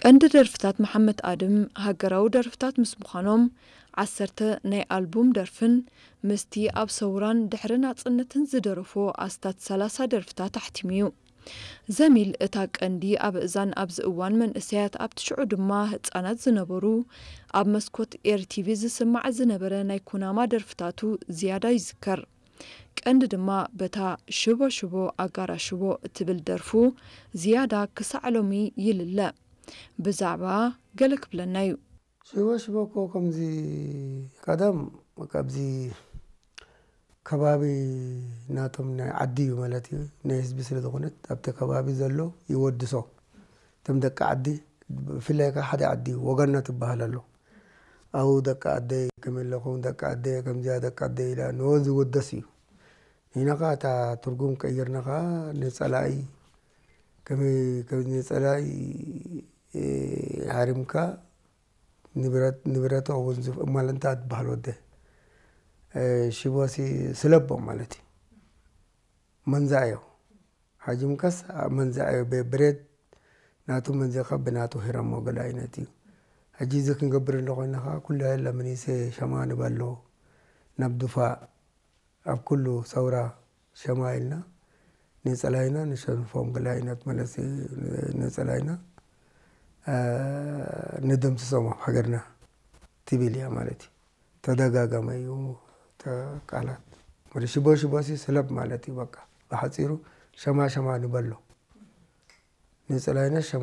ቀንዲ ደርፍታት መሓመድ ኣድም ሃገራዊ ደርፍታት ምስ ምዃኖም፣ ዓሰርተ ናይ ኣልቡም ደርፍን ምስቲ ኣብ ሰውራን ድሕሪ ናጽነትን ዝደረፎ ኣስታት ሰላሳ ደርፍታት ኣሕቲሙ እዩ። ዘሚል እታ ቀንዲ ኣብ እዛን ኣብዚ እዋን መንእሰያት ኣብቲ ሽዑ ድማ ህጻናት ዝነበሩ ኣብ መስኮት ኤር ቲቪ ዝስማዕ ዝነበረ ናይ ኩናማ ደርፍታቱ ዝያዳ ይዝከር። ቀንዲ ድማ በታ ሽቦ ሽቦ ኣጋራ ሽቦ እትብል ደርፉ ዝያዳ ክሳዕ ሎሚ ይልለ። ብዛዕባ ገለ ክብለና እዩ። ሽቦ ሽቦ እኮ ከምዚ ቀደም ካብዚ ከባቢ ናቶም ናይ ዓዲ እዩ ማለት እዩ። ናይ ህዝቢ ስለ ዝኾነት ኣብቲ ከባቢ ዘሎ ይወድሶ። እቶም ደቂ ዓዲ ብፍላይ ከዓ ሓደ ዓዲ እዩ፣ ወገና ትበሃል ኣሎ። ኣብኡ ደቂ ዓደይ ከመይ ኣለኹም ደቂ ዓደይ ከምዚኣ ደቂ ዓደይ ኢላ ንወ ዝወደስ እዩ። ንሕና ከዓ እታ ትርጉም ቀይርና ከዓ ንፀላኢ ከመይ ከም ንፀላኢ ሃሪምካ ንብረት ንብረቶ እውን ዝፍ- እማል እንታይ ትበሃል ወደ ሽቦሲ ስለቦ ማለት እዩ። መንዛዮ ሓጂ ምከስ መንዛዮ ብብሬድ ናቱ መንዘኻ ብናቱ ሂረሞ ገለ ዓይነት እዩ። ሕጂ እዚ ክንገብር እንደ ኮይና ከዓ ኩሉ የለ ምኒሰ ሸማ ንበሎ ናብ ዱፋ ኣብ ኩሉ ሰውራ ሸማ ኢልና ንጸላይና ንሸንፎም ገለ ዓይነት ማለት ንጸላይና ንደምስሶም ኣብ ሃገርና ትብል እያ ማለት እዩ። ተደጋጋመ እዩ ቃላት ወደ ሽቦ ሽቦ ሲ ስለብ ማለት እዩ። በቃ ብሓፂሩ ሸማ ሸማ ንበሎ ንጸላይና ሸማ